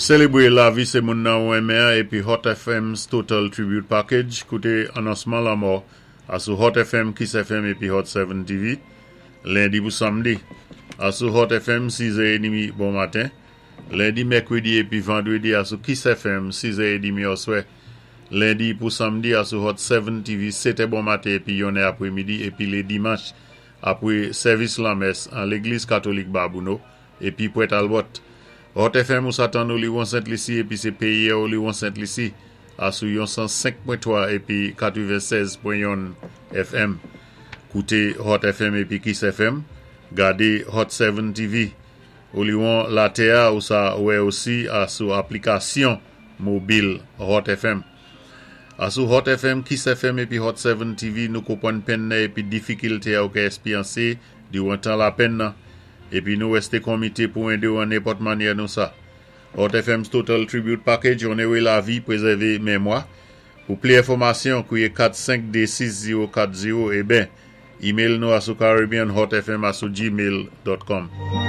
Sélébwé lavi sé moun nan ou renmen épi Hot FM's Total Tribute Package. Kouté anonsman lanmò asou Hot FM, Kiss FM épi Hot 7 TV. Lendi pou samdi. Asou Hot FM 6h30 bon maten. Lendi, mèkwédi épi vandwédi asou Kiss FM 6h30 oswè. Lendi pou samdi asou Hot 7 TV 7 bon maten épi 1 apwémidi épi lé dimanch apwé sèvis lanmès an Légliz Katolik Babouno épi Pwèt Albòt. Hot FM ou sa tann Oliwon Sent Lisi épi sé péyi Oliwon Sent Lisi asou 105.3 épi 96.1 FM. Kouté Hot FM épi Kiss FM. Gadé Hot 7 TV. Oliwon latè-a ou sa wè osi asou aplikasyon mobil Hot FM. Asou Hot FM, Kiss FM épi Hot 7 TV nou konpwann penn nan épi difikilté a ou ka èspyansé diwan tan lapenn nan. Épi nou wèsté konmité pou édé ou an nenpòt mannyè nou sa. Hot FM's Total Tribute Package, Onoré lavi, prézèvé mémwa. Pou pli enfòmasyon, kwiyé 4526040 é ben, email nou asou caribbeanhotfm@gmail.com.